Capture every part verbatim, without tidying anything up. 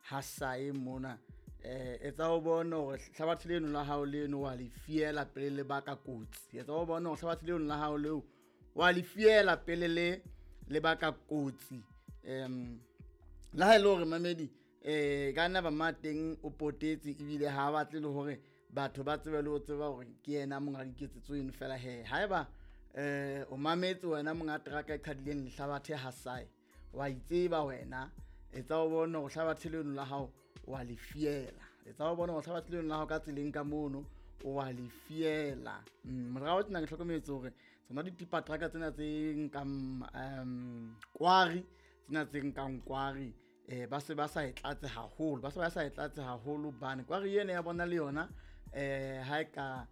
Hasae mona. Eh etsa o bone hore hlabathe leno la hao leno wa le fiela pele le baka kotsi. Etsa o bone hore hlabathe leno la hao leo wa le fiela pele le le baka kotsi. Um le ha e le hore mamedi eh ka nna ba ma teng o potetse ebile ha batle le hore batho ba tsebe le ho tseba hore ke yena monga diketsetso eno fela he. Haeba eh o mametse wena monga teraka e qhadileng lehlabathe Hasae, wa itseba wena, etsa o bone hore hlabathe leno la hao wa le fiela. Etsa o bone hore hlabathe leno la hao ka tseleng ka mono o wa le fiela. Morao tjena ke hlokometse hore tsona ditipa truck tsena tse nkang um kwari, tsena tse nkang kwari eh ba se ba sa e tlatse haholo, ba se ba sa e tlatse haholo hobane kwari ena ya bona le yona eh ha e ka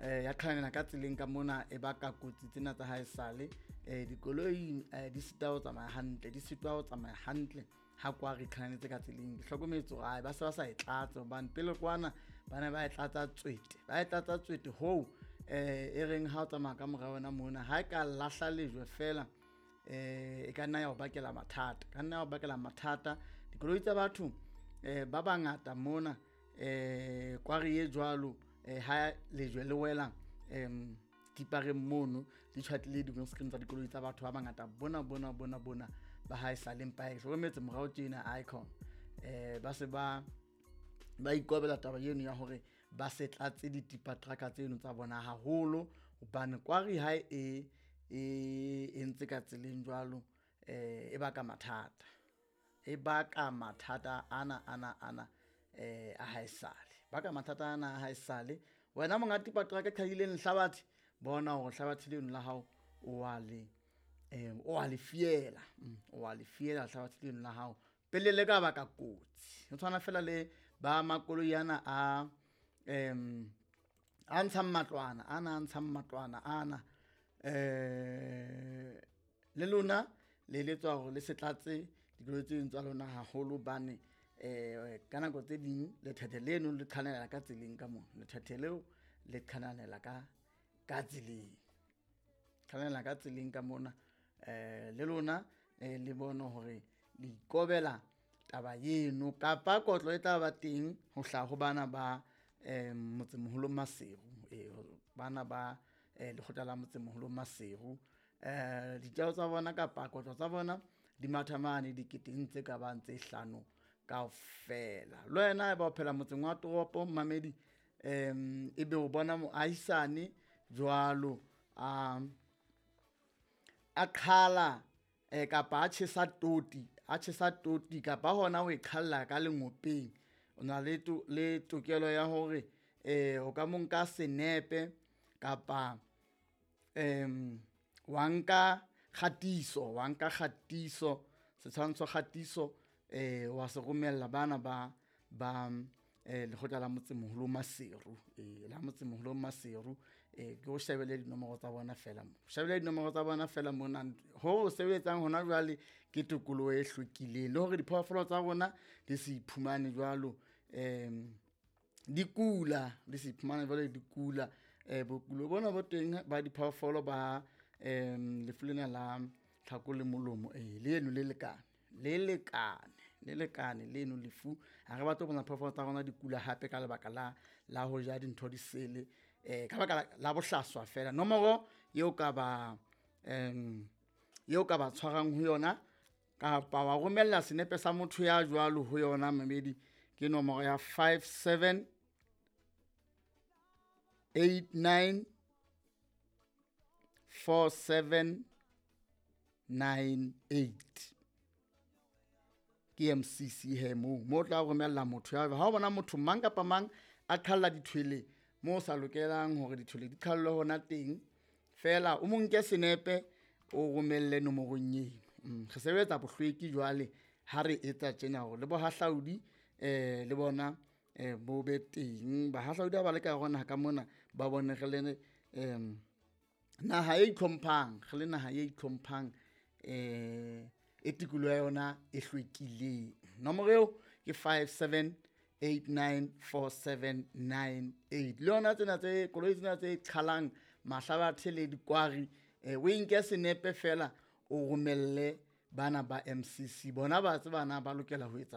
eh ya qhalanela ka tseleng ka mona e baka kotsi tsena tsa haesale. Eh dikoloi di sita ho tsamaya hantle, di sitwa ho tsamaya hantle ha kwari e qhalanetse ka tseleng. Ke hlokometse hore ai ba se ba sa e tlatse hobane pele kwana ba ne ba e tlatsa tswete, ba e tlatsa tswete hoo eh e reng ha o tsamaya ka mora wena mona ha e ka lahla lejwe fela eh e ka nna ya o bakela mathata, ka nna ya o bakela mathata. Dikoloi tsa batho eh ba bangata mona eh kwari e jwalo eh ha lejwe le wela em tipareng mono di tjhwatlile di-windscreen tsa dikoloi tsa batho ba bangata bona bona bona bona ba haesale. Empa ke hlokometse morao tjena icon eh ba se ba ba ikobela taba eno ya hore ba se tlatse ditipa truck tseno tsa bona haholo hobane kwari ha e e entse ka tseleng jwalo eh e baka mathata, e baka mathata ana ana ana eh a haesale, baka mathata ana a haesale. Wena monga tipa truck e qhadileng lehlabathe, bona hore hlabathe leno la hao o wa le eh o wa le fiela, o wa le fiela hlabathe leno la hao pele le ka baka kotsi. Ho tshwana fela le ba makoloi ana a em a ntshang matlwana ana, a ntshang matlwana ana eh le lona le eletswa hore le se tlatse dikoloi tse ding tsa lona haholo hobane eh ka nako tse ding lethethe leno le qhanella ka tseleng ka mona, lethethe leo le qhanella ka ka tseleng, qhanella ka tseleng ka mona. Eh le lona eh le bone hore le ikobela taba eno kapa kotlo e tla ba teng ho hlaha ho bana ba eh motsemoholo Maseru, eh bana ba eh lekgotla la motsemoholo Maseru. Eh ditjeo tsa bona kapa kotlo tsa bona di matha mane diketeng tse ka bang tse hlano kaofela. Le wena haeba o phela motseng wa toropo mamedi em ebe o bona moahisane jwalo a a qhala eh kapa a tjhesa toti, a tjhesa toti kapa hona ho e qhalla ka lengopeng, o na le to, le tokelo ya hore eh o ka mo nka senepe kapa em wa nka kgatiso, wa nka kgatiso setshwantsho kgatiso eh wa se romella bana ba ba eh lekgotla la motsemoholo Maseru, eh la motsemoholo Maseru. Eh ke o shebele dinomoro tsa bona fela mo, shebele dinomoro tsa bona fela mona. Ho sebetsang hona jwale ke tokoloho e hlwekileng le hore diphoofolo tsa rona di se iphumane jwalo em di kula, di se iphumane jwalo di kula. Eh bokulo bona bo teng ba diphoofolo ba em lefu lena la tlhako le molomo eh leno le lekane, le lekane, le lekane leno lefu. Ha re batle ho bona phoofolo tsa rona di kula hape ka lebaka la la ho ja dintho di sele eh ka baka la bohlaswa fela. Nomoro eo ka ba em eo ka ba tshwarang ho yona kapa wa romella senepe sa motho ya jwalo ho yona mamedi ke nomoro ya five seven eight nine four seven nine eight. Ke M C C he moo, moo tla romella motho ya ha o bona motho mang kapa mang a qhalla dithwele moo sa lokelang hore dithwele di qhallwe hona teng fela, o mo nke senepe o romelle nomorong eno. Mm, re sebetsa bohlweki jwale ha re etsa tjena hore le bohahlaudi eh le bona eh bo be teng. Bahahlaudi ha ba le ka hara naha ka mona ba bone re le em naha e itlhomphang, re le naha e itlhomphang eh e tikoloho ya yona e hlwekileng. Nomoro eo ke five seven eight nine four seven nine eight. Le yona tsena tse koloi tsena tse qhalang mahlabathe le dikwari eh o nke senepe fela o romelle bana ba M C C, bona ba tseba na ba lokela ho etsa